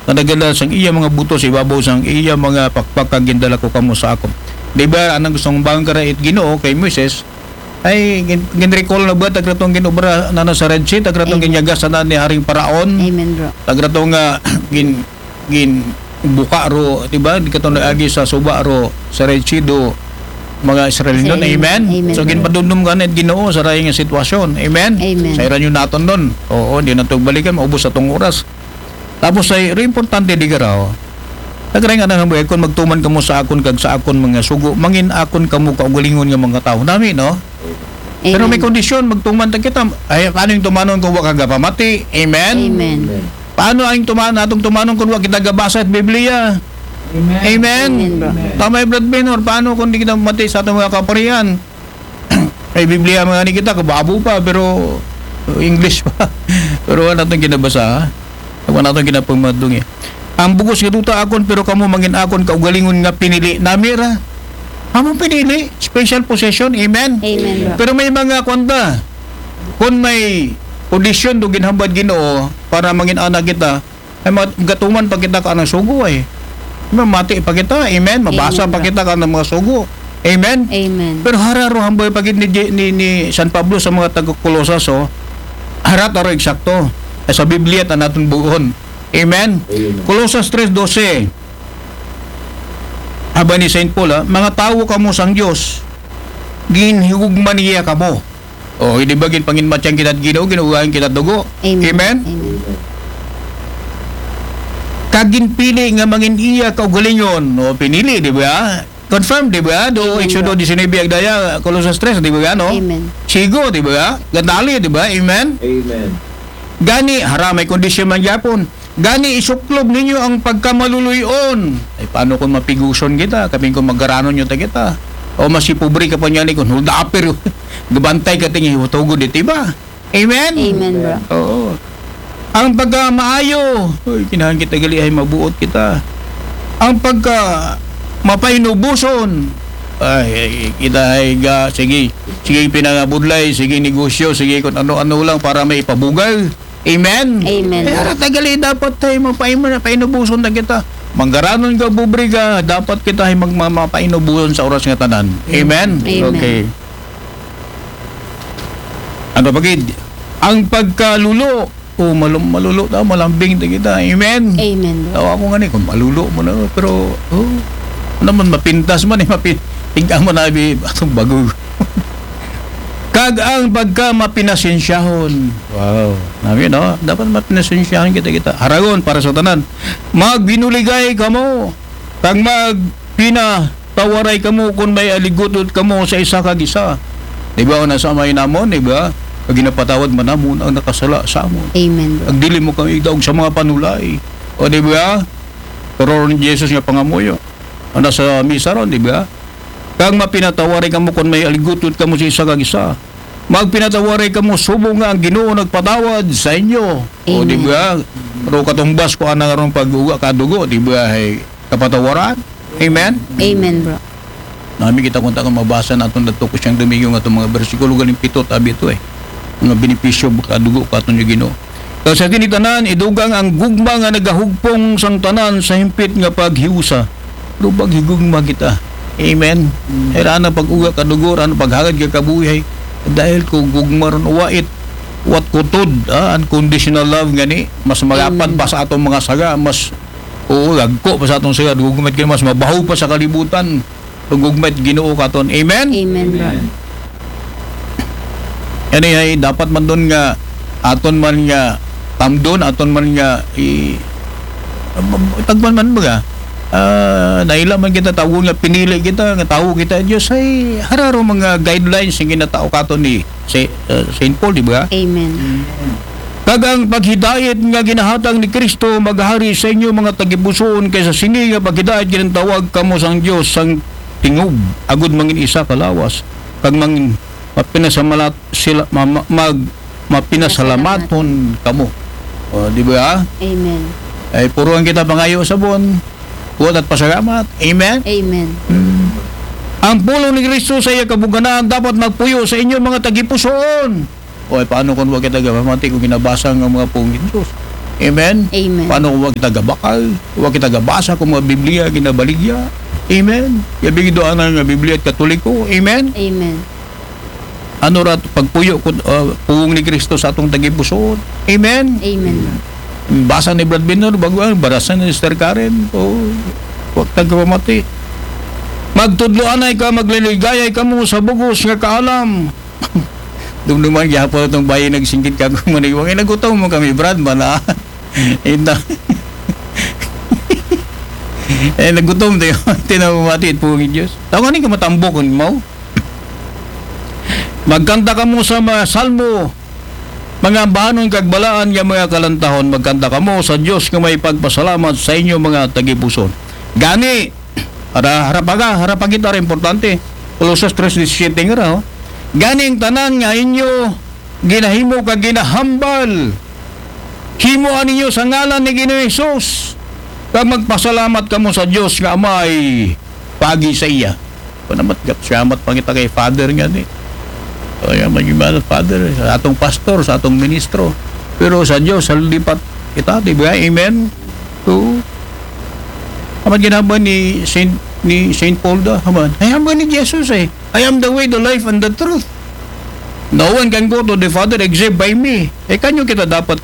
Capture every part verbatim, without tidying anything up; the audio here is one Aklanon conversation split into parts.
nga nagadala sang iya mga buto sa ibabaw sang iya mga pakpak, kag gindala ko kamo sa akon. Di ba, anang gusto kong bangon kara it Ginoo kay Moises, ay, gin-, gin-recall na ba, taga tong ginobra na, na sa Red Sea, taga tong Amen. Ginyagas na ni Haring Paraon, Amen, bro. Taga tong, ah, gin-, gin-, buka ro, di ba? Di ka to naagi sa suba ro, sa Red Sea do, mga Israel nun. Amen. Amen. So, ginpadumdum ka na it Ginoo sa rayong sitwasyon. Amen. Amen. Sa iran yun naton nun. Oo, di na to balikan, maubos sa tong oras. Tapos ay, ri importante di garaw. Nagray nga nang hambuhay, kun magtuman kamo sa akon kag sa akon mga sugo, mangin akon kamo kaugalingon nga mga tawo. Nami, no? Pero may Amen. Kondisyon, magtuman ta kita. Ay, paano yung tumanon kung wa ka gapamati? Amen? Amen. Paano ang tuman-, atong tumanon kung wa kita gabasa at Biblia? Amen. Amen. Amen, bro. Tama yung Brad Benor, paano kung di kita mati sa atong mga kaparian? May Biblia mga ni kita, kababo pa, pero English pa. Pero wala natong ginabasa, ha? Wala natong ginapamadungi. Ang bugos nga duta akon, pero kamo mangin akon kaugalingon nga pinili nami ra. Among pinili, special possession. Amen? Amen, bro. Pero may mga kwanta. Kung may audition do ginhambad Ginoo para mangin anak kita, ay, ma-, gatuman pa kita ka ng sugo, eh. Mamati pa kita, amen? Mabasa Amen, pa bro. Kita ka ng mga sugo. Amen? Amen. Pero hararo hambay pagid ni, Je-, ni, ni San Pablo sa mga taga Colosas, oh. Harat aro eksakto. Eh, sa Biblia, ta natin buon. Amen? Amen. Colosas tres doce. Haba ni Saint Paul, ah, "Mga tawo kamo sang Dios, ginhigugma niya kamo." Oh, di ba, ginpanginmatyan kita Ginoo, ginugahan kita dugo. Amen. Amen? Amen. Kag ginpili nga mangin iya kaugalingon. Oh, pinili, di ba? Confirm, di ba? Do Amen, Exodo bro. Diecinuebe, agdaya, Colosas tres, di ba, no? Amen. Sigo, di ba? Gandali, di ba? Amen? Amen. Gani, hara, may kondisyon man gyapon. Gani isuklob ninyo ang pagkamaluluy-on. Ay, paano kung mapiguson kita? Kapin kung maggaranon nyo ta kita? O mas pobre ka pa niya ni kung hold upper. Gabantay ka tingin, hutugod iti ba? Amen? Amen, bro. Oo. Ang pagkamaayo, uy, kinahanglan kita gali ay mabuot kita. Ang pagka mapainubuson, ay, ay, kita ay ga, sige, sige pinangabudlay, sige negosyo, sige kung ano-ano lang para may ipabugal. Amen? Amen. Eh, ara tagali dapat tayo mapaim-, painubuson na kita. Manggaranon ka, pobre ka, dapat kita ay magmamapainubuson sa oras nga tanan. Amen? Amen. Okay. Ano pa gid? Ang pagkalulo. Oh, malum-, malulo ta, malambing ta kita. Amen? Amen, bro. Tawa ko nga ni, kung malulo mo na, pero, oh, naman mapintas man eh, mapin-, tingnan mo na, bi-, atong bago. Kag ang pagka mapinasensyahon. Wow. Nami, no? Dapat mapinasensyahon kita, kita. Haragon para sa tanan. Magbinuligay kamo. Kag magpinatawaray kamo kung may aligutot kamo sa isa kag isa. Di ba, o nasa may namon, di ba? Kag ginapatawad man namon ang nakasala sa amon. Amen, bro. Ag dili mo kami idaog sa mga panulay. O, di ba? Pero ni Jesus nga pangamuyo. O nasa misa ron, di ba? Kag mapinatawaray kamo kung may aligutot kamo sa isa kag isa. Magpinatawaray kamo subong nga ang Ginoo nagpatawad sa inyo. O, di Amen. Ba? Pero katumbas ko ana nga ron pag-uga ka dugo, di ba? Ay kapatawaran. Amen? Amen, bro. Nami kita kung takang mabasa naton dato ko siyang Domingo nga itong mga bersikulo galing pito, tabi ito eh. Mga benepisyo, kadugo, katon yung Ginoo. Kag sa kini tanan, idugang ang gugma nga nagahugpong sang tanan sa himpit nga paghiusa. Pero paghigugma kita. Amen. Mm. Ay, raan ang pag-uga ka dugo, raan ang paghagad ka kabuhi. Dahil ko gugma ron, wait, what kutod, ah, unconditional love nga ni, mas malapad Amen. Pa sa atong mga saga, mas, oo, lagko pa sa atong saga, gugma it Ginoo, mas mabaho pa sa kalibutan. Gugma it Ginoo katon. Amen? Amen, bro. Amen. Yan ay, ay, dapat man doon nga, aton man nga, tamdon, aton man nga, i-, tagpan man ba nga? Ah, naila man kita, tawon nga, pinili kita, nga tawo kita, Diyos, ay hararo mga guidelines nga ginatao katon ni Sa-, ah, Saint Paul, di ba? Amen. Kag ang paghidait nga ginahatag ni Kristo maghari sa inyo mga tagipusoon, kay sa sini nga paghidait ginatawag kamo sang Dios sang tingog, agud mangin isa ka lawas, kag mangin mapinasamalat sila, ma-, ma-, mag-, mapinasalamaton kamo. O, di ba? Amen. Ay, puruan kita pangayo sabon. Buot at pasalamat. Amen? Amen. Mm. Ang pulong ni Kristo sa iya kabugnanan dapat magpuyo sa inyo mga tagipusoon. O, ay, paano kung wa kita gapamati kung ginabasa nga mga pulong ni Jesus? Amen? Amen. Paano kung wa kita gabakal? Wa kita gabasa kung mga Biblia ginabaligya? Amen? Yabi gid ana nga Biblia it Katoliko? Amen? Amen. Ano ra pagpuyo ko, ah, pulong ni Kristo sa atong tagipusoon? Amen? Amen. Basa ni Brad Binor, bago ang barasan ni Sister Karen. O, wa ta kapamati. Magtudloanay ka, magliligayay kamo sa bugos nga kaalam. Dumduman gyapon atong bayi nagsinggit ka kung maniwang. Eh, nagutom mo kami, Brad, mana. Ito. Eh, nagutom tayo. Tinawamati it pulong ni Diyos. Tawag ni ka matambok kung mo. Magkanta kamo sa mga salmo, mga ambahanon kag balaan nga mga kalantahon. Magkanta kamo sa Dios nga may pagpasalamat sa inyo mga tagipuson. Gani, ara, ara pa ka, ara pa kita, ara importante. Colosas tres diecisiete nga ra, oh. Gani ang tanan nga inyo ginahimo kag ginahambal, himoa ninyo sa ngalan ni Ginoong Hesus, kag magpasalamat kamo sa Dios nga Amay pagi sa iya. Kung naman, salamat pa kita kay Father nga ni. Kaya magimana Father, sa atong pastor, sa atong ministro. Pero sa Dios, sa lipat kita, di ba? Amen? So, amat ginaba ni Saint, ni Saint Paul da, haman. Ay, hamba ni Jesus eh. "I am the way, the life, and the truth. No one can go to the Father except by me." Eh, kanyo kita dapat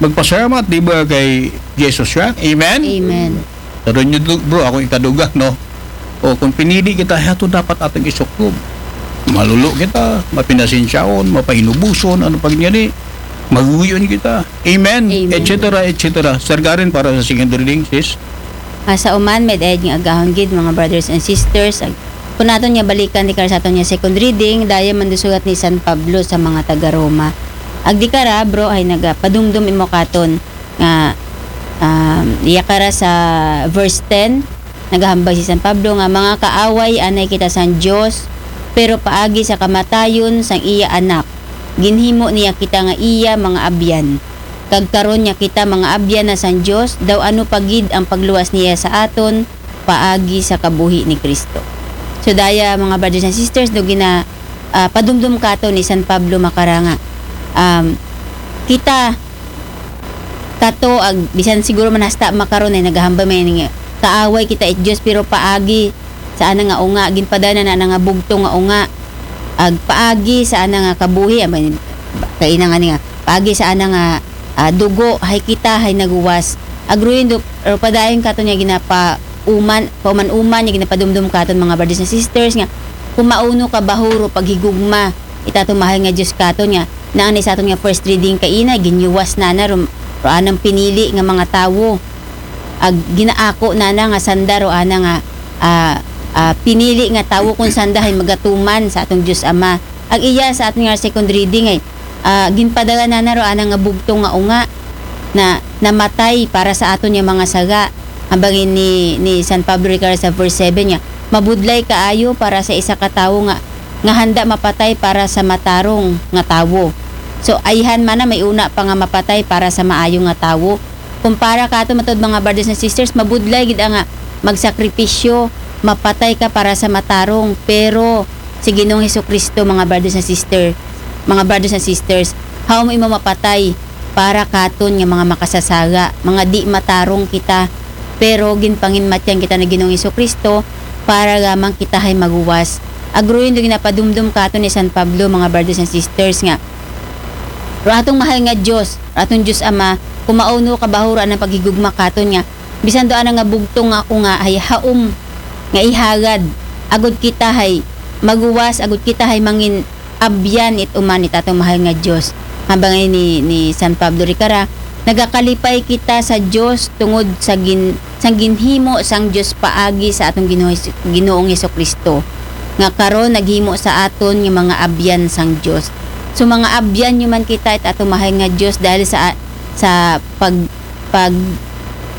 magpasalamat, di ba, kay Jesus siya? Amen? Amen. Pero nyo, bro, ako ikaduga, no? O kung pinili kita, ato dapat atong isuklob. Malulo kita, mapinasensyaon, mapainubuson, ano pag ni, maguyon kita. Amen? Amen. Et cetera, et cetera. Sir Karen, para sa second reading, sis. Ah, sa uman, may dayad nga agahon gid, mga brothers and sisters. Ag, kung naton nga balikan, di kara sa aton nga second reading, daya man sulat ni San Pablo sa mga taga Roma. Ag di kara, bro, ay nagapadumdum imo katon nga, um, iya kara sa verse ten, nagahambal si San Pablo nga, "Mga kaaway, anay kita sang Dios, pero paagi sa kamatayon sang iya Anak, ginhimo niya kita nga iya mga abyan. Kag karon nga kita mga abyan na sang Dios, daw ano pa gid ang pagluwas niya sa aton paagi sa kabuhi ni Kristo." So daya, mga brothers and sisters, do gina, ah, padumdum kato ni San Pablo makara nga, um, kita kato, ag bisan siguro man hasta makaron ay nagahambal man nga kaaway kita it Dios, pero paagi sa ana nga unga, ginpadala na ana nga bugtong nga unga, ag paagi sa ana nga kabuhi, ama, kaina nga ni nga paagi sa ana nga, ah, dugo, hay kita hay naguwas. Ag ruin do, pero padayon kato niya ginapa uman, pauman-uman niya ginapadumdum katon, mga brothers and sisters, nga kung mauno ka bahuro paghigugma itato mahal nga Dios katon nga, naan ni sa aton nga first reading kaina, ginyuwas na na ro, ro anang pinili nga mga tawo. Ag ginaako na na nga sanda ro ana nga, ah, ah, pinili nga tawo kung sanda hay magatuman sa atong Dios Ama. Ag iya sa aton nga second reading ay, ah, ginpadala na na ro ana nga bugtong nga unga na namatay para sa aton nga mga sala. Ambangin ni, ni San Pablo Ricard sa verse seven niya, "Mabudlay kaayo para sa isa ka tawo nga, nga handa mapatay para sa matarong nga tawo." So, ayhan man na may una pa nga mapatay para sa maayo nga tawo. Kumpara kato, matod, mga brothers and sisters, mabudlay gid ang nga magsakripisyo, mapatay ka para sa matarong, pero si Ginoong Hesukristo, mga brothers and sister, mga brothers and sisters, haom imo mapatay para katon nga mga makasasala, mga di matarong kita, pero ginpanginmatyan kita ni Ginoong Hesukristo para lamang kita hay maguwas. Ag ruin do ginapadumdum katon ni San Pablo, mga brothers and sisters, nga ro atong mahal nga Dios, ro atong Dios Ama, kung mauno ka bahuro anang paghigugma katon nga bisan do ana nga bugtong nga unga hay haom nga ihagad, agud kita hay maguwas, agud kita hay mangin abyan it uman it atong mahal nga Dios. Ambangin ni, ni San Pablo Ricard, nagakalipay kita sa Dios tungod sa gin-, sang ginhimo sang Dios paagi sa atong Ginoo Hes-, Ginoong Hesukristo, nga karon naghimo sa aton nga mga abyan sang Dios. So, mga abyan nyo man kita it atong mahal nga Dios dahil sa, sa pag, pag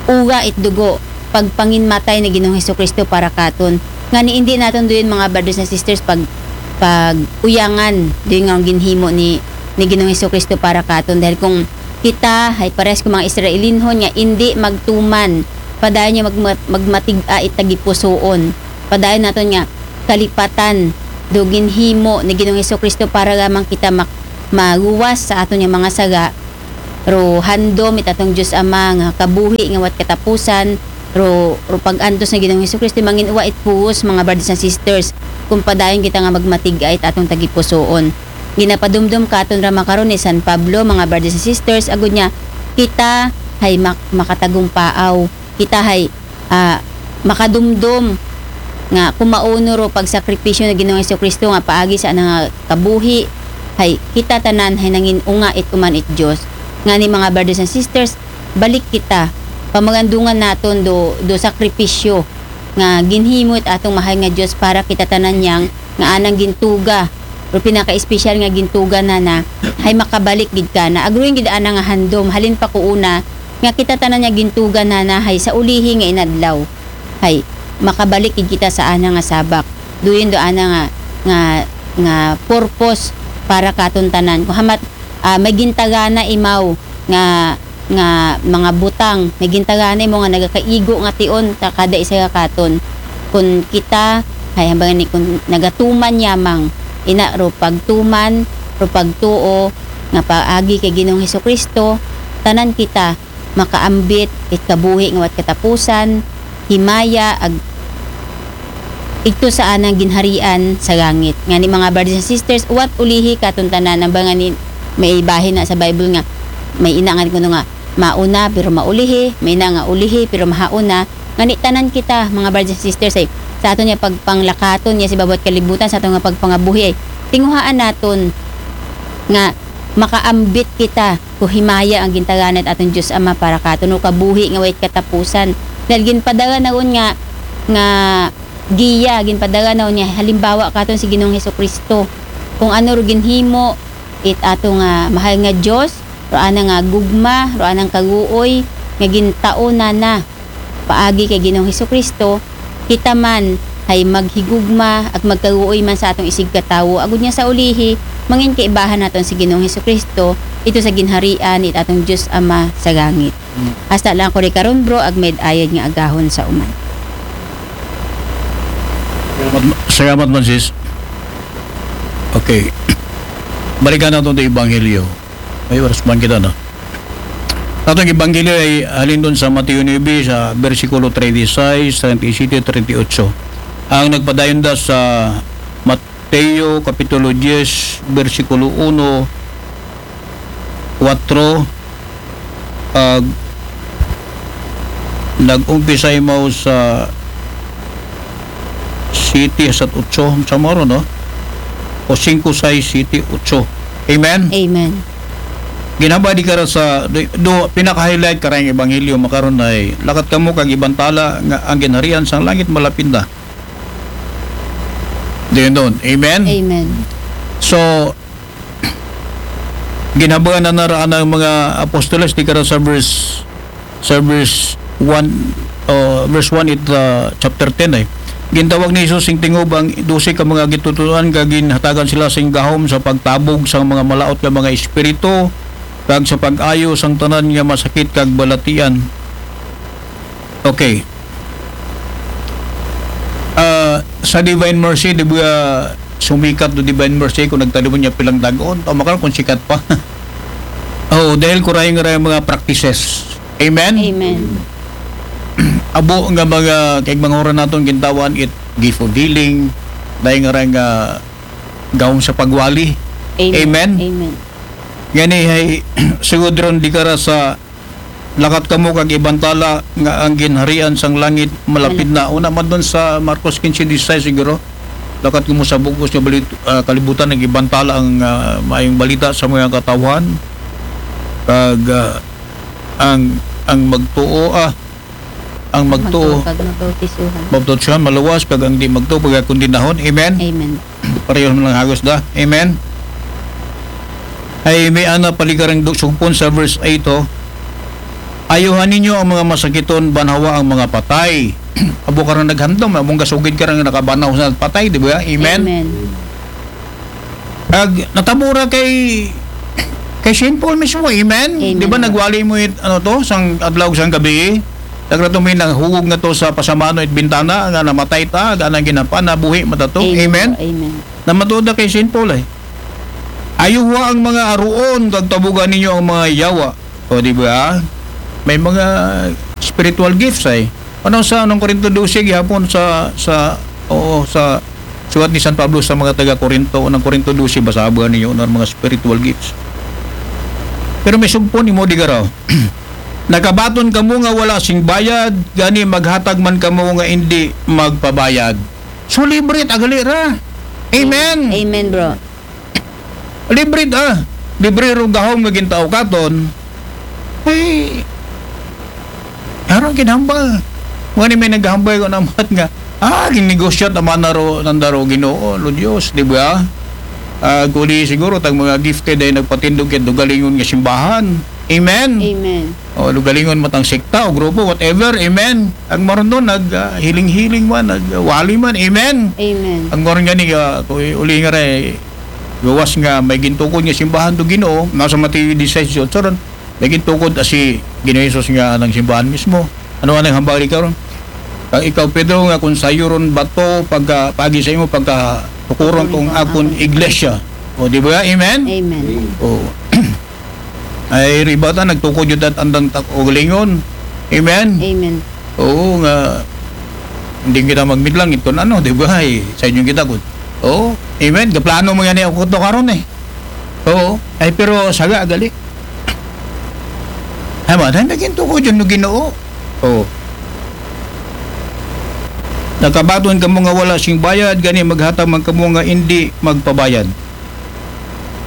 uga it dugo, pagpanginmatay ni Ginoong Hesukristo para katon. Nga ni hindi naton duyon, mga brothers and sisters, pag, pag uyangan duyon nga ang ginhimo ni, ni Ginoong Hesukristo para katon. Dahil kung kita hay parehas kung mga Israelinhon nga hindi magtuman, padayon nga magma-, magmatig-a it tagipusoon. Padayon naton nga kalipatan do ginhimo ni Ginoong Hesukristo para lamang kita mak-, maluwas sa aton nga mga sala. ro handom it atong Dios Ama nga kabuhi nga wat katapusan, ro, ro pag-antos nga Ginoong Hesukristo, mangin-uwa it puwos, mga brothers and sisters, kung padayon kita nga magmatig-a it atong tagipusoon. Ginapadumdom katon ra makaron ni San Pablo, mga brothers and sisters, agud niya, kita hay mak-, makatagumpaaw, kita hay, ah, makadumdom nga kumauno ro pagsakripisyo na Ginoong Hesukristo nga paagi sa ana nga kabuhi, hay kita tanan hay nangin-unga it uman it Dios. Ngani, mga brothers and sisters, balik kita, pamagandungan naton do, do sakripisyo nga ginhimo it atong mahal nga Dios para kita tanan niyang nga anang gintuga, pero pinaka-espesyal nga gintuga nana, hay makabalik gid kana. Agruin gid ana nga handom, halin pa kuuna, nga kita tanan niya gintuga nana hay sa ulihi nga inadlaw. Hay makabalik gid kita sa ana nga sabak. Duyon do ana nga, nga, nga purpose para katon tanan. Kung hamat, ah, may gintagana imaw nga, nga mga butang, may gintagana imo nga nagakaigo nga tion ta kada isa ka katon. Kun kita, hay hambal ngani, kun nagatuman yamang, ina ro pagtuman, ro pagtuo nga paagi kay Ginoong Hesukristo, tanan kita makaambit it kabuhi nga wat katapusan, himaya, ag igto sa anang ginharian sa langit. Ngani, mga brothers and sisters, wat ulihi katon tanan, hambal ngani, may bahin na sa Bible nga may ina nga kuno nga mauna pero maulihi, may ina nga ulihi pero mahauna. Ngani, tanan kita, mga brothers and sisters, ay sa aton nga pagpanglakaton niya sa bawat kalibutan, sa aton nga pagpangabuhi, ay tinguhaan naton nga makaambit kita ko himaya ang gintagana it aton Dios Ama para katon, o kabuhi nga way katapusan. Dahil ginpadala na nga, nga giya, ginpadala na niya halimbawa katon si Ginoong Hesukristo. Kung ano ro ginhimo it ato nga mahal nga Dios, ro ana nga gugma, ro anang kaguoy nga gintao na na paagi kay Ginoong Hesukristo, kita man hay maghigugma ag magkaguoy man sa atong isigkatawo, agud niya sa ulihi, mangin kaibahan naton si Ginoong Hesukristo, ito sa ginharian it atong Dios Ama sa langit. Hasta lang ko ri karon, bro, ag may ayad nga agahon sa uman. Salamat, salamat man, sis. Okay. Balikan naton to Ebanghelyo. Ay, oras man kita, no? Atong Ebanghelyo ay halin doon sa Mateo nuebe, sa bersikulo treinta y seis, treinta y siete, treinta y ocho. Ang nagpadayon da sa Mateo Kapitulo diyes, bersikulo uno, kuwatro, ag nag-umpisa imaw sa siyete hasta otso, sa maro, no? O singko, sais, siyete, otso. Amen? Amen. Ginhambal di kara sa, do, do, pinaka-highlight karayong ebanghelyo makaron ay, lakat kamo kag ibantala nga ang ginharian sang langit malapit na. Diyon doon. Amen? Amen. So, ginhabagan na nara anang mga apostoles di kara sa verse, sa verse one, uh, verse one it, uh, chapter ten ay. Gintawag ni Jesus sing tingob ang dose ka mga gitutuan, kag ginhatagan sila sing gahom sa pagtabog sa mga malaot nga mga espiritu, kag sa pag-ayo sang tanan nga masakit kag balatian. Okay. Ah, sa Divine Mercy, di ba, sumikat do Divine Mercy kung nagtalibon niya pilang dagon? O, makaron kung sikat pa. Oh, dahil kurayo nga mga practices. Amen? Amen. Abo nga mga, kay mga oras naton gintawan it gift of healing, dahil nga nga gahom sa pagwali. Amen? Amen. Ngani hay sugod ron di kara sa lakat kamo kag ibantala nga ang ginharian sang langit malapit na. Una man doon sa Marcos quince dieciséis siguro. Lakat kamo sa bug-os nga balit, ah, kalibutan, nagibantala ang, ah, maayong balita sa mga katawhan. Kag, ah, ang, ang magtuo, ah, ang magtuo, Magtuo kag mabautisuhan. Baptisuhan, maluwas, kag ang di magtuo, pagkakondinahon. Amen? Amen. Pareho man lang hagos da. Amen? Ay, may ana paligarang du-, sugpon sa verse eight, oh. Ayuhan ninyo ang mga masakiton, banhawa ang mga patay. Abo ka rin naghandom, among gasugid ka rin nakabanaw sa patay, di ba? Amen? Amen. Ag natabura kay, kay Saint Paul mismo, amen? Amen. Di ba nagwali mo it, ano to, sang adlaw, sang gabi? Nagrato may naghugog nga to sa pasamano it bintana, nga namatay ta, nga nang ginapa, nabuhi matato. Amen? Amen. Namatuod na kay Saint Paul, eh. Ayuha ang mga aruon, kag tabugan ninyo ang mga yawa. O, di ba? May mga spiritual gifts ay. Ano sa unang Korinto dose gihapon sa, sa, oo, sa sulat ni San Pablo sa mga taga Korinto, unang Korinto dose, basahan ninyo ang mga spiritual gifts. Pero may sugpon imo di garaw. Nakabaton kamo nga wala sing bayad, gani maghatag man kamo nga hindi magpabayad. So libre ta gali ra. Amen. Amen, bro. Libre ta. Libre ro gahom nga gintao katon. Ay, aron kinahambal. Mga ni may naghambal ko namat nga, ah, ginegosyo ta man na ro, nanda ro Ginoo, lo Dios, di ba? Ah, kuli siguro tag mga gifted ay nagpatindog kay dugalingon nga simbahan. Amen. Amen. O, dugalingon matang sekta o grupo, whatever. Amen. Ang maron doon, nag ah, hiling-hiling man, nagwali man. Amen. Amen. Ang maron nga ni, ah, kung uli nga rin, gawas nga may gintukod nga simbahan do Ginoo, nasa Mateo disisais, so ron, may gintukod asi Ginoo Jesus nga ng simbahan mismo. Ano ang hambali karon? Kag ikaw, Pedro, nga kung sayo ron bato, pagka, pagi sa imo, pagka tukuron kong akon iglesia. O, di ba? Amen? Amen. O. Ay, ribata, nagtukod yun at andang tak-, ugalingon. Amen? Amen. Oo, nga, hindi kita magmidlang, ito na, no? Di ba? Ay, sa inyo kita, good. Oo. Amen? Kaplano mo yan, eh, ako to karon eh. Oo. Ay, pero saga, gali. Ay, ma, dahil naging tukod yun, no, Ginoo. Oo. Nakabaton kamo nga wala sing bayad, gani maghatag man kamo nga hindi magpabayad.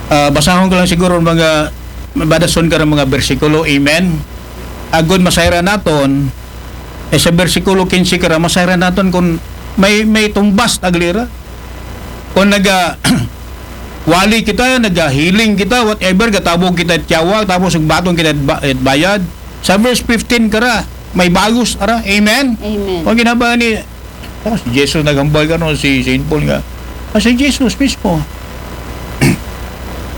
Ah, basahon ko lang siguro mga, mabadason ka ng mga bersikulo. Amen. Agod masayra naton, eh, sa bersikulo kinse kara, masayra naton kung may, may tumbas, aglira. Kung naga, wali kita, naga-healing kita, whatever, gatabog kita tiyawa, tapos nagbaton kita ba-, bayad. Sa verse fifteen kara, may bagos, ara. Amen? Amen. Kung ginaba ni, tapos si Jesus naghambal ka, no, si Saint Paul nga. Ah, si Jesus mismo.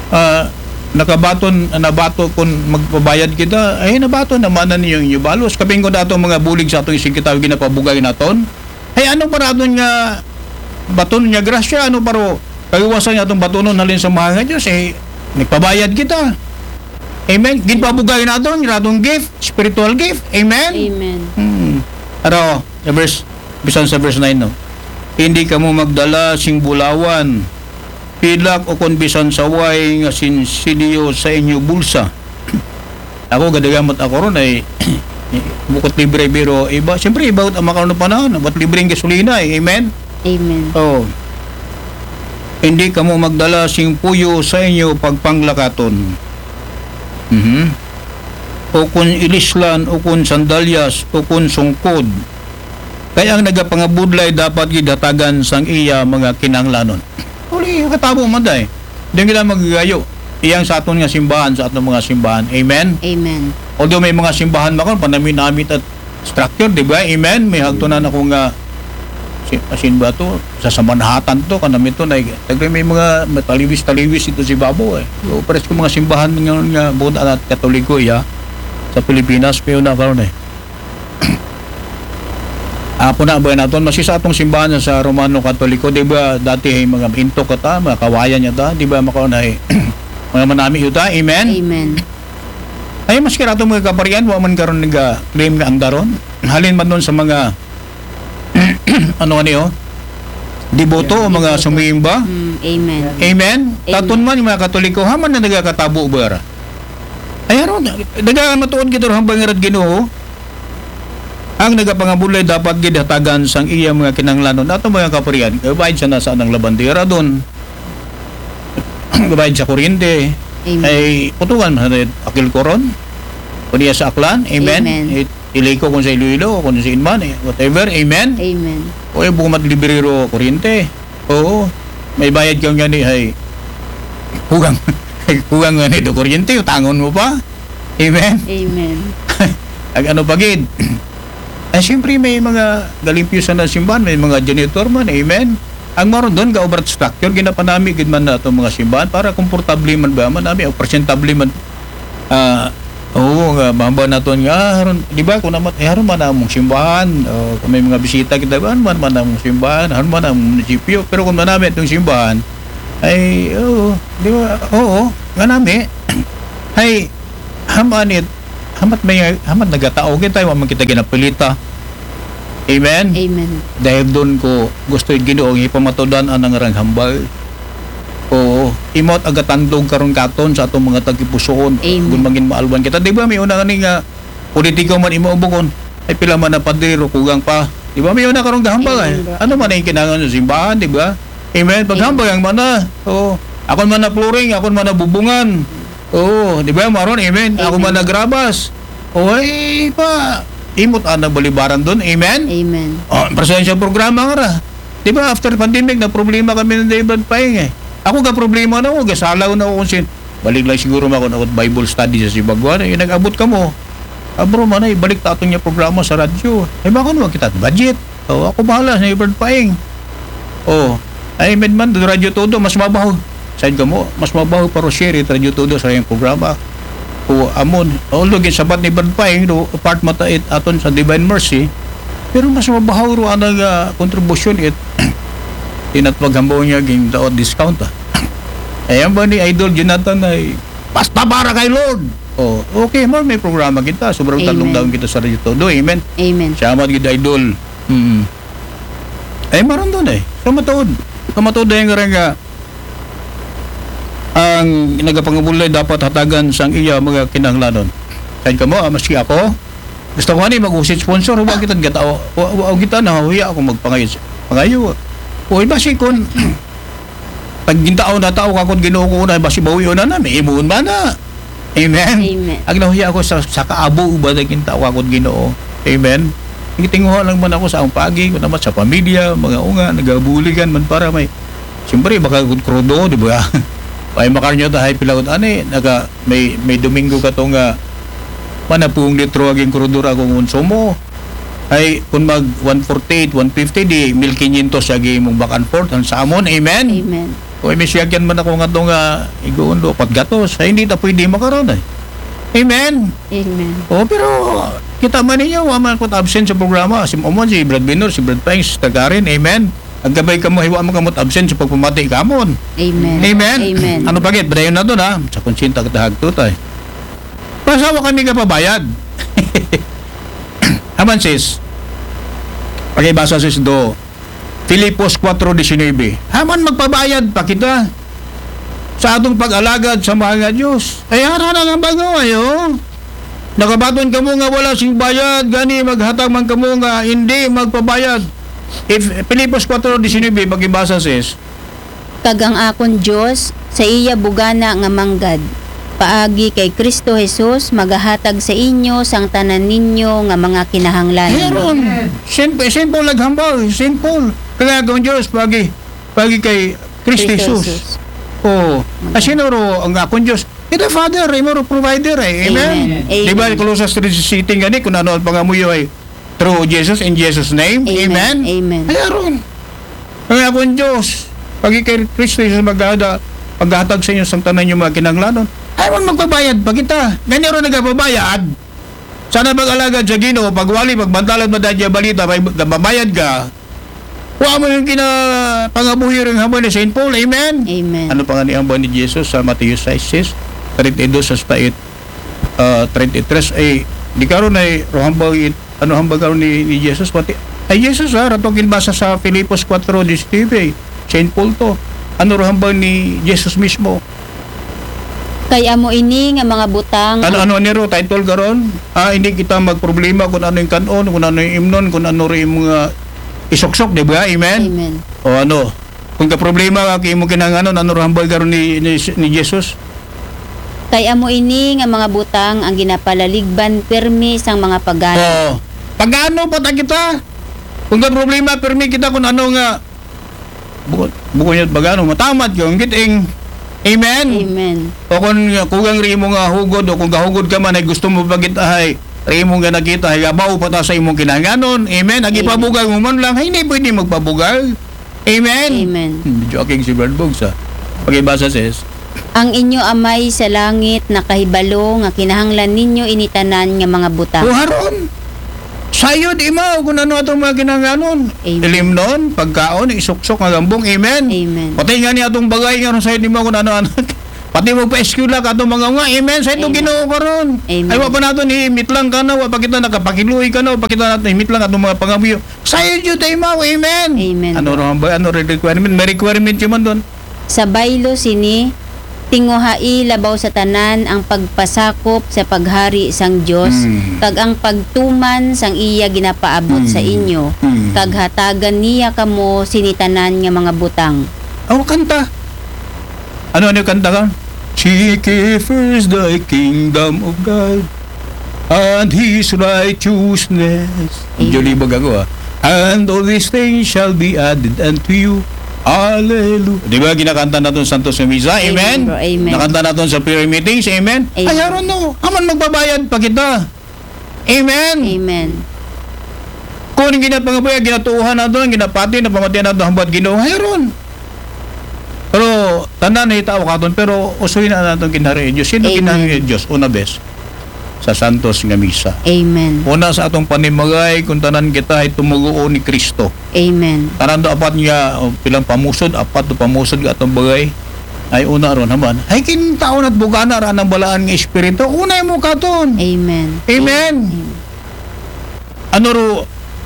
Ah, nakabaton, nabato kung magpabayad kita, ay nabaton naman na ninyong inyo balos. Kaping ko na itong mga bulig sa atong isig kita, ginapabugay naton. Ay ano para aton nga baton nga grasya, ano para kagawasan nga atong batonon halin sa mahal nga Diyos, eh, nagpabayad kita. Amen? Ginpabugay naton, nga atong gift, spiritual gift. Amen? Amen. Hmm. Aro, sa verse, bisan sa verse nine, no? Hindi kamo magdala sing bulawan, pilak o kon bisan saway nga sinsilyo sa inyo bulsa. Ako, gadagamot ako ron ay bukot libre, pero iba, siyempre, iba ang makaroon ng panahon, ba't libre ang gasolina eh, amen? Amen. Oh. Hindi kamo magdala sing puyo sa inyo pagpanglakaton. Mhm. O kun ilislan, o kun sandalyas, o kun sungkod. Kay ang nagapangabudlay dapat gid hatagan sang iya mga kinahanglanon. Uli, katabo man day. Di kita magagayo. Iyang sa aton nga simbahan, sa aton mga simbahan. Amen? Amen. Although may mga simbahan makon, panami-nami at structure, di ba? Amen? May hagtunan ako nga, si, asin ba to? Sa, sa Manhattan to, kanami to, na, tagre may mga mataliwis-taliwis ito si Babo eh. So, pares ko mga simbahan nga, nga buta at Katoliko, ya. Sa Pilipinas, pero na karon eh. Apo na ba naton? Masi sa atong simbahan sa Romano Katoliko, di ba? Dati ay mga intok kata, mga kawayan niya ta, di ba? Makaon ay mga manami yuta. Amen? Amen. Ay, maski rato mga kaparian, wa man karon nga claim nga ang daron. Halin man doon sa mga, ano nga niyo? Deboto o mga sumimba. Mm, amen. Amen? Amen. Taton man yung mga Katoliko, haman na nagakatabo ba? Ay, aron, daga matuod kita hambang nga Ginoo. Ang nagapangabulay dapat gid hatagan sang iya mga kinahanglanon. Ato mga kaparian, kabaid sa nasa ng labandera doon. Kabaid sa kuryente. Amen. Ay, putungan man sa akil koron. Kuniya sa aklan. Amen. Amen. It-, iliko kung sa Iloilo, kung sa Inman, eh, whatever. Amen. Amen. O, eh, bumat librero kuryente. Oo. May bayad ka nga ni, hay. Hugang. Hugang nga ni do kuryente, utangon mo pa. Amen. Amen. Ang ano pa gid? Ay, siyempre, may mga galimpyo sa nasimbahan, may mga janitor man, amen. Ang maron doon, ga-obra structure, ginapanami gid man na itong mga simbahan para komportable man ba man, nami, o presentable man. Ah, oo, nga, mamba naton nga, ah, haron, di ba, kung naman, eh, haron man among simbahan, o kung may mga bisita kita, haron man, man among simbahan, haron man among munisipyo, pero kung manami itong simbahan, ay, oo, di ba, oo, nga nami, ay, Haman it, hamat may, hamat nagatao kita, wa man kita ginapilita. Amen? Amen. Dahil doon ko gusto yung Ginoo, ipamatudan ang nangarang hambal. Oo, imot agatandog karon katon sa atong mga tagipusoon. Amen. Kung mangin maalwan kita. Di ba, may una nga ni nga, politiko man imo bukon. Ay, pila man na padre, ro, kugang pa. Di ba, may una karong gahambal ay. Amen, bro. Ano man ang kinangan sa simbahan, di ba? Amen. Paghambal ang mana. Oo. Ako man na flooring, ako man na bubungan. Oo, di ba, Maron? Amen. Ako Amen. Man na grabas. O, ay, pa, imot ana balibaran doon. Amen? Amen. Oh, presensya programa nga ra. Di ba, after pandemic, na problema kami ng David Paing eh. Ako ga problema na ako, gasalaw na ako kung sin. Balik lang siguro ako na Bible study sa Sibagwan. Eh, nag-abot ka mo. Ah, bro, manay, balik ta aton niya programa sa radyo. Eh, baka naman kita budget. Oh, ako bahala sa David Paing. Oh, ay, med man, Radyo Todo, mas mabaho. Said ka mo, mas mabaho para share it Radyo Todo sa iyong programa. O amon, although gin sabat ni Brad Paing, do, part mata it aton sa Divine Mercy, pero mas mabaho ro anang ah, kontribusyon it tinatwag hambaw niya ging daot discount ah. Ayan ba ni Idol Jonathan ay basta para kay Lord? Oh, okay, mar may programa kita. Sobrang Amen. Talong daon kita sa Radyo Todo. Amen. Amen. Salamat gid, Idol. Mm. Ay, maron doon eh. Sa matuod. Sa matuod ay nga rin nga ang nagapangabulay dapat hatagan sang iya mga kinahanglanon. Said ka mo, ah, maski ako, gusto ko ani mag-usit sponsor, wa kita gatao, wa, wa, wa kita nahuya ako magpangayo. Pangayo. O iba si kon pag gintao na tao kakot Ginoo ko na basi bawi na na may imuon ba na. Amen. Amen. Ang nahuya ako sa sa kaabo ba na gintao kakot Ginoo. Amen. Gitinguha lang man ako sa ang pagi ko naman sa pamilya, mga unga, nagabuligan man para may siyempre baka gud krudo, di ba? Ay makarnyo ta hay pilagot ani, naga may may Domingo ka to nga manapung litro aging krudo ra akong konsumo. Ay kung mag one forty-eight, one fifty di mil quinientos agi mong back and forth ang sa amon. Amen. Amen. O may siyakyan man ako nga to nga iguon do pat gatos. Ay hindi ta pwede makaron ay. Amen. Amen. O pero kita man ninyo, wa man ko absent sa programa. Si Omon, si Brad Binor, si Brad Paing, si Sister Karen. Amen. Ang gabay ka mo, hiwa mo kamot absent sa pagpamati kamon. Amen. Amen. Amen. Ano bagay? Padayon na to na. Sa konsinta kita hagtutay. Pasawa kami ka pabayad. Aman sis. Pakibasa sis do. Filipos four diecinuebe. Haman magpabayad pa kita sa atong pag-alagad sa mahal nga Diyos. Ay harana nga bago ayo. Nakabaton kamo nga wala sing bayad, gani maghatag man kamo nga hindi magpabayad. If Filipos four diecinuebe, pakibasa sis. Kag ang akon Dios sa iya bugana nga manggad paagi kay Kristo Jesus magahatag sa inyo sang tanan ninyo nga mga kinahanglanon. Heron. Simple, simple lang hambal. Simple. Kaya akong Diyos, pagi, pagi kay Kristo Kristo Jesus. Jesus. Oo. Kasi noro ang akong Diyos. Ito Father, imo ro provider eh. Amen. Amen. Di ba, Amen. Colossus three sixteen gani, kung ano ang pangamuyo ay through Jesus, in Jesus' name. Amen. Amen. Ay, aron. Ang akong Diyos, pagi kay Kristo Jesus maghada, paghatag sa inyo sa tanan yung mga kinanglanon. Ay, man magbabayad pa kita. Gani ro nagababayad. Sana pag-alagad sa Ginoo, pagwali, pagbantalan mo dahil balita, may babayad ka. Wa mo yung kinapangabuhi rin hamon ni Saint Paul. Amen? Amen. Ano pa nga ni hambal ni Jesus sa Mateo six, thirty-two sa state, uh, thirty-three, ay, di karon ay, rohambal it, ano hambal karon ni, ni Jesus? Pati, ay, Jesus ha, ratong kinbasa sa Filipos four diecinuebe, Saint Paul to. Ano rohambal ni Jesus mismo? Kay amo ini nga mga butang Ano, ano niro, title karon? Ah, hindi kita magproblema kung ano yung kanon, kung ano yung imnon, kung ano rin yung mga isuksok, di ba? Amen? Amen. O ano? Kung ka problema ka, kay mo kinanganon, ano rohambal karon ni, ni, ni Jesus? Kay amo ini nga mga butang ang ginapalaligban permi sang mga pagano. Oo. Pagano pa ta kita? Kung ka problema, permi kita kung ano nga bukod, bukod niya pagano, matamat yung giting. Amen? Amen. O kung kugang rin mo nga hugod, o kung gahugod ka man, ay gusto mo pagit ay, rin mo nga nakita, ay gabaw pa ta sa imong kinanganon. Amen? Ang Amen. Ipabugal mo man lang, ay hindi pwede magpabugal. Amen? Amen. Hmm, medyo aking si Brad Boggs, ah. Pakibasa, sis. Ang inyo amay sa langit nakahibalo nga kinahanglan ninyo ini tanan nga mga butang. O haron, sayod imaw kung ano atong mga kinanganon. Amen. Ilimnon, pagkaon, isuksok nga gambong. Amen. Amen. Pati nga ni atong bagay nga ron sayod imaw kung ano-ano. Pati magpa-eskwela ka atong mga unga. Amen. Sa ito Amen. Ginoo karon. Amen. Ay, wa pa nato ni mitlang ka na, wa pa kita nakapakiluoy ka na, wa pa kita nato ni mitlang atong mga pangamuyo. Sayo jud ta imaw. Amen. Amen. Ano ra ba, ano ra requirement? May requirement yun man doon. Sa baylo sini, tinguhai labaw sa tanan ang pagpasakop sa paghari sang Dios, Mm. kag ang pagtuman sang iya ginapaabot sa Mm. inyo, Mm. kag hatagan niya kamo sini tanan nga mga butang. Oh, kanta. Ano, ano yung kanta ka? Seek ye first the kingdom of God and His righteousness. Amen. Jolly bag ako, ah. And all these things shall be added unto you. Hallelujah. Di ba, ginakanta naton Santos sa Misa? Amen, Amen? Bro. Amen. Nakanta naton sa prayer meetings? Amen? Amen. Ay, aron no. Aman magbabayad pa kita. Amen? Amen. Kung ang ginapangabuhi, ginatuuhan nato, ang ginapati, napamatian nato, hambal Ginoo, hayron. Pero, tanan na itaw katon, pero usoy na naton ginhari Diyos. Sino Amen. Ginhari Diyos? Una bes, sa Santos nga Misa. Amen. Una sa atong panimagay, kung tanan kita ay tumuguo ni Kristo. Amen. Tanan do apat nga, o, pilang pamusod, apat do pamusod nga atong bagay. Ay una ron, haman. Ay kintaon at bugana ra ng balaan nga espiritu. Unay mo katon. Amen. Amen. Amen. Ano ro,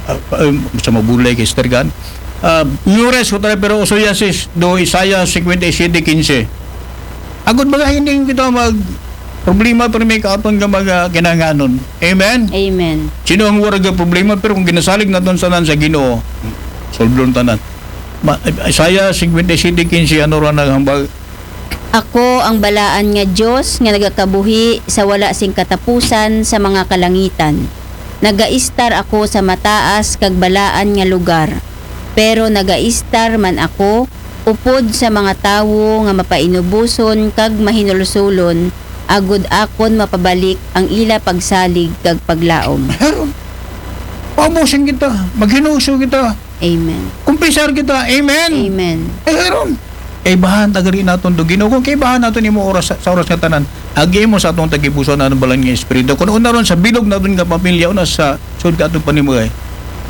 ah, um, sa mabulay kay Sister Gan? Ah, Mures ko tayo, pero uso yan sis, do Isaiah fifty-seven fifteen. Agod baga hindi kita mag problema pero may katon nga mga kinanganon. Amen? Amen. Sino ang warag nga problema? Pero kung ginasalig naton sa nan sa Ginoo, solblon tanan. Ma-, Isaiah fifty-seven fifteen, ano ra naghambal? Ako ang balaan nga Dios nga nagakabuhi sa wala sing katapusan sa mga kalangitan. Nagaistar ako sa mataas kag balaan nga lugar, pero nagaistar man ako upod sa mga tawo nga mapainubuson kag mahinulsulon, agod akon mapabalik ang ila pagsalig kag paglaom. Pero, paubusin kita, maghinuso kita. Amen. Kumpisar kita. Amen. Amen. Eh, ron. Kaibahan tagari naton do Ginoo. Kung kaibahan naton imo oras sa, sa oras nga tanan, agi mo sa atong tagipuso na ang balan nga espiritu. Kung una ron sa bilog naton nga pamilya, una sa sud ka atong panimugay,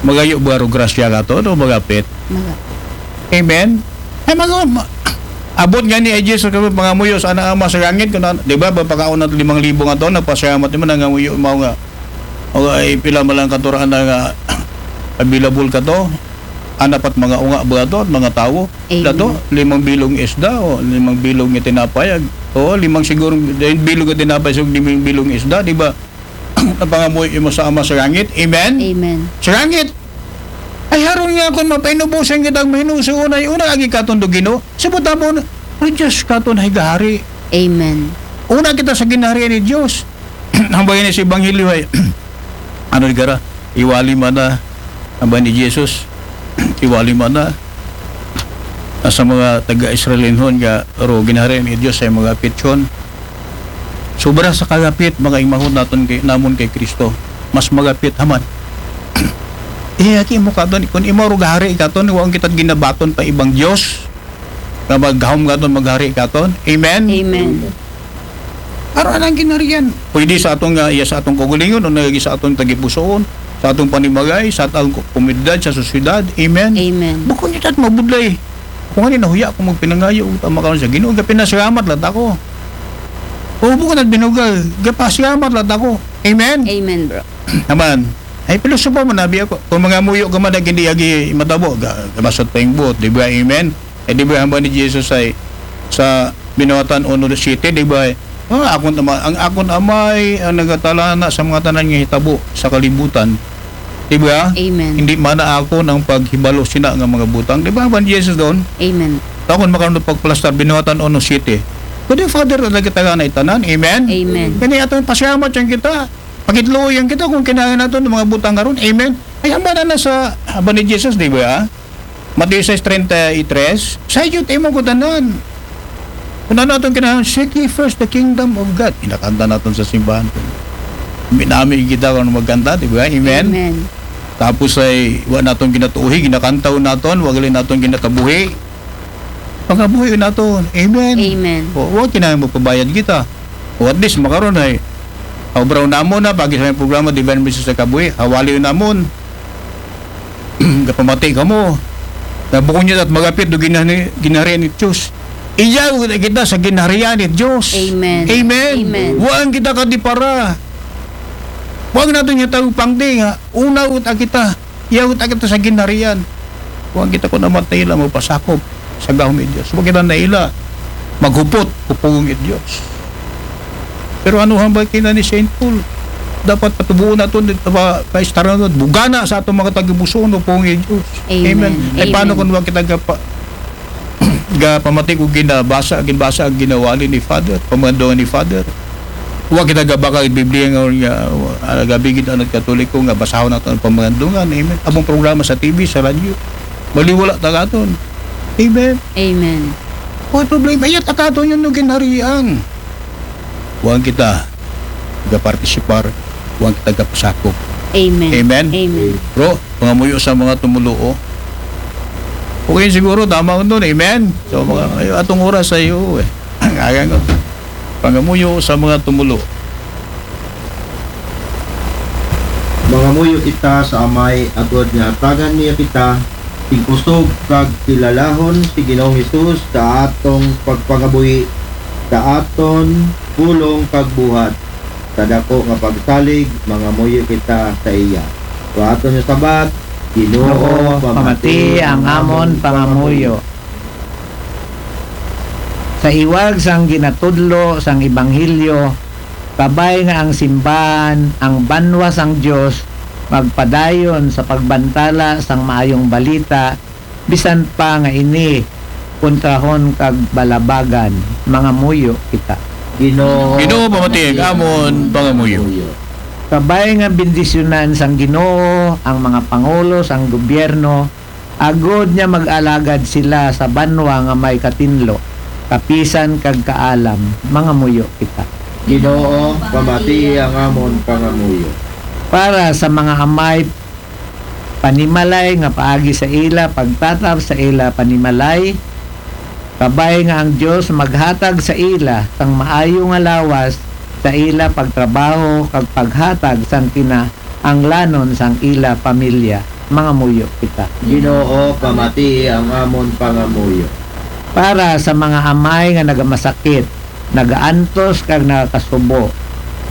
magayo ba ro grasya ka to, no? Magapit. Magapit. Amen. Ay, mag-, ma-, abot nga ni ay Jesus kami pangamuyo sa anak ama sa langit, kung na, di ba, pagpakaon nato limang libo nga to, nagpasalamat naman ang ngamuyo, mao nga, o ay pila man lang katuraan na nga available ka to, anapat mga unga ba to, at mga tawo, Amen. Dato, limang bilog nga isda, o limang bilog nga tinapay, ag-, o limang siguro, dahil bilog nga tinapay, so limang bilog nga isda, di ba? Ang pangamuyo mo sa Ama sa langit. Amen? Amen. Sa langit. Ay, haron nga kung mapainubusan kita ang mahinusuon ay una, agi katon do Ginoo. Sa butabon, o Diyos katon ay gahari. Amen. Una kita sa ginaharian ni Diyos. Ang bagay ni sa Ebanghelyo ay, ano di gara, iwali man na, ang bagay ni Jesus, iwali man na, sa mga taga-Israelinhon nga, ro ginaharian ni Diyos ay mga pityon. Sobra sa kagapit, mga imahon naton kay, namon kay Kristo. Mas magapit haman. Eh, aki mo katon, kung imo ro gahari katon, waong kita ginabaton pa ibang Diyos. Nga maghahom katon, maghari katon. Amen? Amen. Aron ang ginarian. Pwede sa atong, ah, iya sa atong kaugalingon, o nagagi sa atong tagipusoon, sa atong panimagay, sa atong ko-, komunidad, sa sosyedad. Amen? Amen. Bukon niyo tat mabudlay. Kung ano nahuya kung magpinangayo, tama ka sa Ginoo, gapinasalamat lang ako. O bukon at binugal, gapasalamat lang ako. Amen? Amen, bro. Naman. Ay, pilosopo man, nabi ako. Kung mga muyo ka man, hindi agi matabo, ga-, gamasot pa yung buot, di ba? Amen? Eh, di ba, hamba ni Jesus ay sa Binuhatan uno siyete, di ba? Ah, akon ama, ang akon amay ang nagatalana sa mga tanan nga hitabo sa kalibutan. Di ba? Amen. Hindi man na akon ang paghibalo sina nga mga butang. Di ba, hamba ni Jesus doon? Amen. Takon makaroon ng pagplastar, Binuhatan uno siyete. Pwede, Father, na kita nga na itanan. Amen? Amen. Kani atong pasyamat yan kita. Pakitluoy yan kita kung kinahanglan nato ng mga butang karon. Amen? Ay, hamba na na sa, hamba ni Jesus, di ba? Mateo sais treinta y tres, "Sa iyo, timo ko tanan." Kung ano atong kinahanglan, "Seek ye first the kingdom of God." Kinakanta naton sa simbahan. Minami kita kung magkanta, di ba? Amen? Amen. Tapos ay, wa naton ginatuuhi, ginakantaw naton, wa gali naton ginakabuhi. Pagabuhi naton. Amen? Amen. O, wa kinahanglan magpabayad kita. O, at least, makaron ay, obraw namon na, pagi sa may programa, Divine Message sa Kabuhi, hawali namon. Gapamati kamo. Na bukon niya at magapit do ginani-, ginari ni Diyos. Iyaw ta kita sa ginharian ni Dios. Amen. Amen. Amen. Wa kita kadipara. Wa naton nga tawo pangdi nga, unaw ta kita. Iyaw ta kita sa ginharian. Wa kita ko naman ta ila magpasakop sa gahom ni Dios. Wa kita na ila maghupot, kupong ni Dios. Pero ano hambal kina ni Saint Paul? Dapat patubuon naton, pa, paistara naton, bugana sa atong mga tagipusoon, kupong ni Dios. Amen. Ay, paano Amen. kung wa kita gapa, ga pamati ko ginabasa, ginbasa ang ginawali ni Father, pamandungan ni Father. Wa kita gabaka ang Biblia nga, nga ah, gabigit ang Katoliko nga basahon nato ang pamandungan. Amen. Among programa sa T V, sa radyo, maliwala ta katon. Amen. Amen. Wa problema, iya ta katon yung ginharian. Wa kita gapartisipar, wa kita gapasakop. Amen. Amen. Amen. Bro, pangamuyo sa mga tumuluo. Okay, siguro tama ko doon. Amen. So, mga, ay, atong oras sa iyo eh. Ang agang ko. Pangamuyo sa mga tumulo. Mangamuyo kita sa Amay agod nga hatagan niya kita sing kusog kag kilalahon si Ginoong Hesus sa atong pagpangabuhi, sa aton pulong kag buhat, sa dako nga pagsalig. Mangamuyo kita sa iya. Sa aton nga sabat, Ginoo, pamati ang amon pangamuyo. Sa iwag sang ginatudlo sang Ebanghelyo, kabay nga ang simbahan, ang banwa sang Dios, magpadayon sa pagbantala sang maayong balita, bisan pa nga ini kontrahon kag balabagan. Mangamuyo kita. Ginoo, Ginoo, pamati ang amon pangamuyo. Kabay nga bendisyonan sang Ginoo ang mga pangulo sang gobyerno, agod nga mag-alagad sila sa banwa nga may katinlo, kapisan kag kaalam. Mangamuyo kita. Ginoo, pamati ang amon pangamuyo. Para sa mga amay panimalay nga paagi sa ila pagtatap sa ila panimalay, kabay nga ang Dios maghatag sa ila sang maayo nga lawas sa ila pagtrabaho kag paghatag sang kinahanglanon sang ila pamilya. Mangamuyo kita. Ginoo, pamati ang amon pangamuyo. Para sa mga amay nga nagamasakit, nagaantos kag nagakasubo,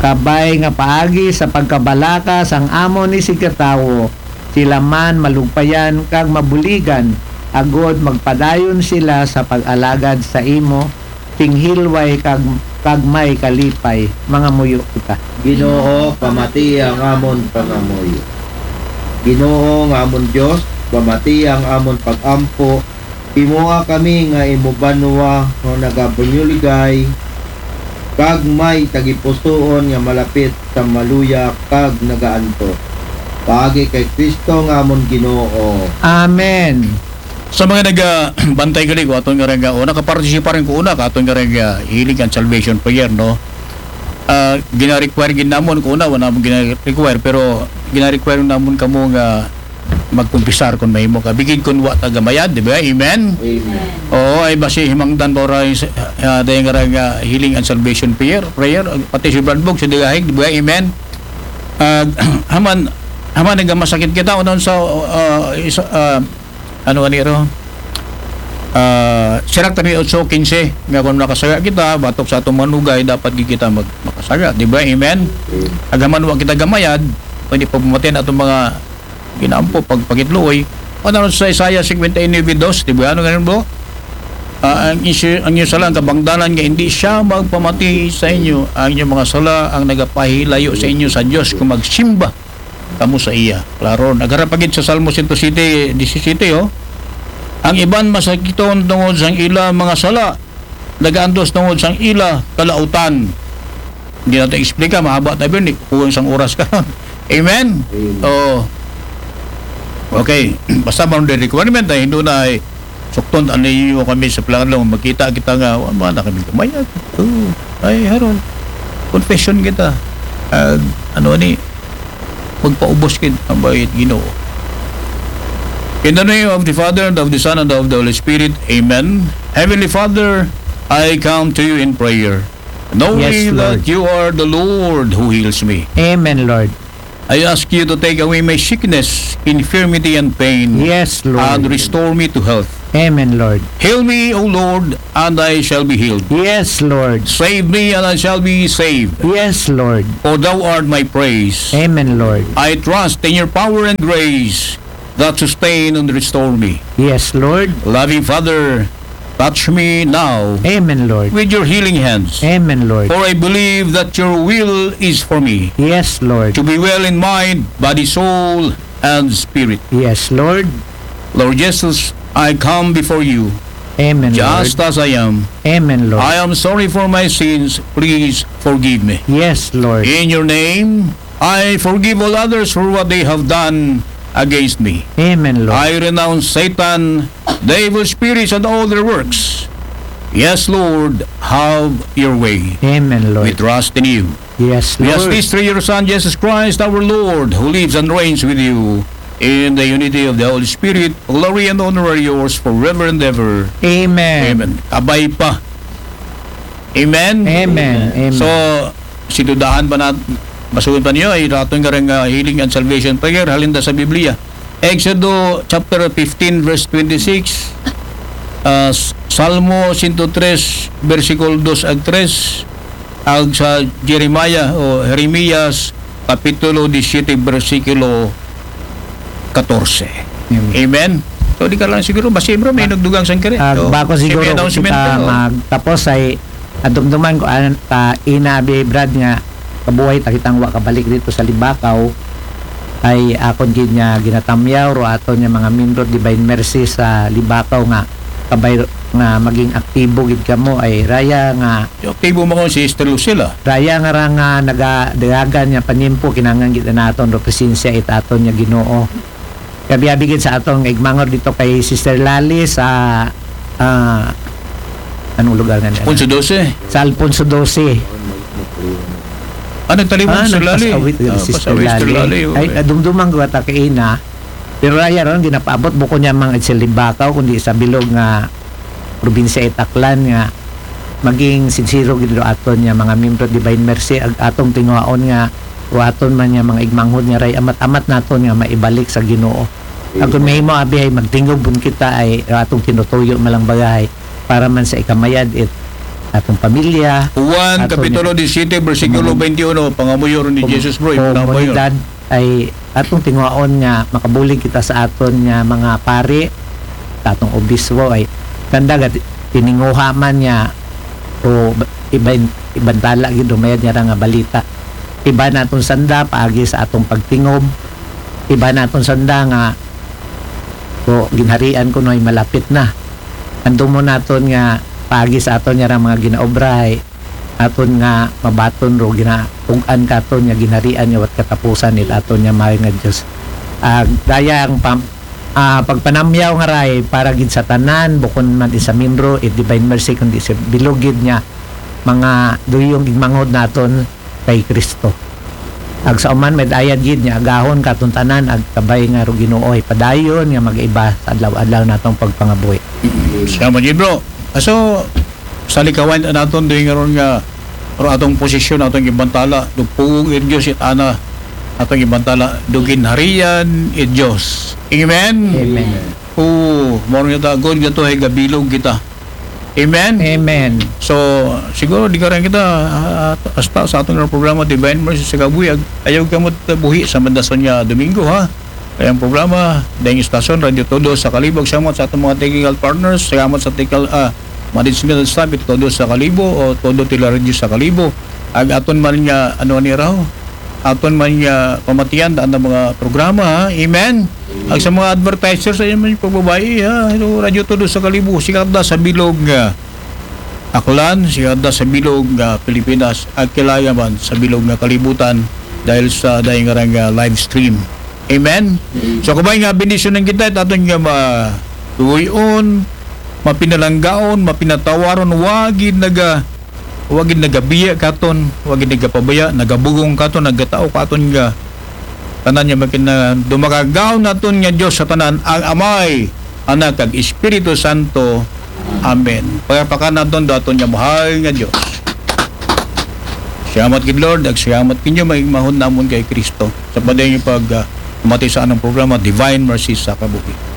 kabay nga paagi sa pagkabalaka sang amon isigkatawo, sila man malugpayan kag mabuligan, agod magpadayon sila sa pag-alagad sa imo, sing hilway kag, kag may kalipay. Mangamuyo kita. Ginoo, pamati ang amon pangamuyo. Ginoo nga amon Dios, pamati ang amon pag-ampo. Himoa kami nga imo banwa nga nagabunyuligay, kag may tagipusoon nga malapit sa maluya kag nagaantos. Paagi kay Kristo nga amon Ginoo. Amen. Sa mga nagabantay gali ko aton nga rega, o nakaparticipar ko una ka aton nga rega healing and salvation prayer, no? Ah, gina-require gid namon ko una, wala namon gina-require, pero gina-require namon kamo nga magkumpisar kung mahimo ka. Bigid kung wa ta gamayad, di ba? Amen? Amen. Oo, ay basi himangdan pa ora yung sa- ah, dahil nga rega healing and salvation prayer, prayer, pati si Brad Bog, si Dagahig, di ba? Amen? Ah, haman, haman nga masakit kita, unang sa, ah, isa, ah, ano ani ro? Ah, sirak tabi otso quince, nga kung nakasaya kita, batok sa atong manugay, dapat gid kita mag, makasaya, di ba? Amen? Agaman wa kita gamayad, pwede pagpamatian atong mga ginaampo, pagpakitluoy. O naroon sa Isaiah fifty-nine two, di ba? Ano ganun, bro? Ah, ang, inyo, ang inyo sala, ang kabangdanan nga hindi siya magpamati sa inyo, ang inyong mga sala ang nagapahilayo sa inyo sa Dios kung magsimba kamo sa iya. Klaro, nagharap pa gid sa Salmo one oh seven, disisete, oh. Ang iban masakiton tungod sang ila mga sala, nagaantos tungod sang ila kalautan. Hindi natin explica, mahaba tayo yun, eh. Kulang sang oras ka. Amen? Amen. Oo. Okay. Basta man the requirement, ay hindi na ay sukton, ano yun kami sa plano, magkita kita nga, wala na kami kumayag. Oo. Ay, haron. Confession kita. Ah, ano ni, magpaubos gid ang bayad Ginoo. In the name of the Father, and of the Son, and of the Holy Spirit, Amen. Heavenly Father, I come to you in prayer, knowing Yes, that Lord. you are the Lord who heals me. Amen, Lord. I ask you to take away my sickness, infirmity, and pain. Yes, Lord. And restore me to health. Amen, Lord. Heal me, O Lord, and I shall be healed. Yes, Lord. Save me, and I shall be saved. Yes, Lord. For thou art my praise. Amen, Lord. I trust in your power and grace that sustain and restore me. Yes, Lord. Loving Father, touch me now Amen, Lord. With your healing hands. Amen, Lord. For I believe that your will is for me Yes, Lord. To be well in mind, body, soul, and spirit. Yes, Lord. Lord Jesus, I come before you Amen, just Lord. As I am. Amen, Lord. I am sorry for my sins. Please forgive me. Yes, Lord. In your name, I forgive all others for what they have done against me. Amen, Lord. I renounce Satan, devil spirits, and all their works. Yes, Lord, have your way. Amen, We Lord. Trust in you. Yes, We ask Lord. This through your Son, Jesus Christ, our Lord, who lives and reigns with you in the unity of the Holy Spirit. Glory and honor are yours forever and ever. Amen. Amen. Kabay pa. Amen. Amen. Amen. So, si dudahan pa nat, basuhin pa niyo, ay raton nga rin, ah, healing and salvation prayer, halin da sa Biblia. Exodo chapter fifteen, verse twenty-six, ah, S-, Salmo one oh three, versikulo dos ag tres, ag sa Jeremiah o Jeremias, kapitulo disisyete, bersikulo katorse. Amen. Amen. So, di ka lang siguro, basta bro, may nagdugang sang kiri. Ah, So, bako siguro may kung announcement kita ka, oh. Magtapos ay adumduman ko an ta ina abi Brad nga kabuhay ta kitang wa kabalik dito sa Libakaw ay akon gid nga ginatamyaw ro aton nga mga membro Divine Mercy sa Libakaw nga kabay nga maging aktibo gid kamo ay raya nga Yung aktibo mo kung si Sister Lucila. Raya nga ra nga nagadagan nga panimpo kinahanglan gid naton ro presensya it aton nga Ginoo. Kabi-abi gid sa aton nga igmangod dito kay Sister Lali sa ah, anong lugar nga niya? Alfonso doce. Sa Alfonso doce. Ah, nagtalibog Ah, si Sister Lali. nagpasawit gid Ah, si Sister pasawit si Sister Lali. Lali, oh, Ay, eh. Adumduman ko ata kay ina. Pero raya ron ginapaabot bukon niya mga itsil Libakaw kundi sa bilog nga probinsya it Aklan nga maging sinsero gid ro aton nga mga membro Divine Mercy ag atong tinguhaon nga ro aton man nga mga igmanghod nga ray amat-amat naton nga maibalik sa Ginoo. Ag kung mahimo abi ay magtingob pun kita ay ro atong tinutuyo malang bagay para man sa ikamayad it atong pamilya. Juan Aton kapitulo nga- twenty-one, bersikulo Komun- twenty-one, pangamuyo ron ni Jesus, bro. Yung pangamuyo. Komunidad ay atong tinguhaon nga makabulig kita sa aton nga mga pari, sa atong obispo ay sanda gad tininguha man nga o iban ibantala gid umayad nga ra nga balita. Iba naton sanda paagi sa atong pagtingob. Iba naton sanda nga o ginharian kuno ay malapit na. Andumon naton nga paagi sa aton nga ra mga ginaobra ay aton nga mabaton ro ginatug-an katon nga ginharian nga wat katapusan it aton nga mahal nga Dios. Ah, gaya ang pam, ah, pagpanamyaw nga ray para gid sa tanan bukon man isa membro it Divine Mercy kundi sa bilog gid nga mga duyong igmanghod naton kay Kristo. Ag sa uman may ayad gid nga agahon katon tanan ag kabay nga ro Ginoo ay padayon nga mag-iba sa adlaw-adlaw natong pagpangabuhi. Salamat gid, bro. Aso sa likawan naton doy nga ron nga ro atong posisyon, atong ibantala, dugpugong it Dios it ana, atong ibantala, duginharian it Dios. Amen. Amen. Oo, mao nga ta, good nga to, ay gabilog kita. Amen. Amen. So, siguro di ka rin kita ah, hasta sa atong programa Divine Mercy sa Kabuhi, ag-, ayaw ka mo buhi sa mandason nga Domingo, ha? Kaya ang programa, dahil istasyon, Radyo Todo sa Kalibo. Salamat sa atong mga technical partners. Salamat sa technical ah, management staff, ito Todo sa Kalibo o Todo Tila Radio sa Kalibo. Ag aton man nga, ano ni raw? Aton man nga pamatian, daan ang mga programa, ha? Amen? Ag sa mga advertisers, ayun man yung pagbabayi, ha? Ito, Radyo Todo sa Kalibo. Sikat da sa bilog nga Aklan, sikat da sa bilog nga Pilipinas, ag kilala man sa bilog nga kalibutan dahil sa dahil nga rang, ah, live stream. Amen? So, kabay nga, bendisyonan kita, it aton nga ma-, tuyon, mapinalanggaon, mapinatawaron, wagid naga, wagid nagabiya katon, wagid nagapabaya, nagabugong katon, nagatao katon nga, tanan nga makina-, dumakagaw naton nga Dios sa tanan, ang Amay, Anak, kag Espiritu Santo. Amen. Pagapakan naton do aton nga mahal nga Dios. Salamat gid, Lord, ug salamat kinyo maigmahon namon kay Kristo sa padayon pag ah, pamati sa anang programa, Divine Mercy sa Kabuhi.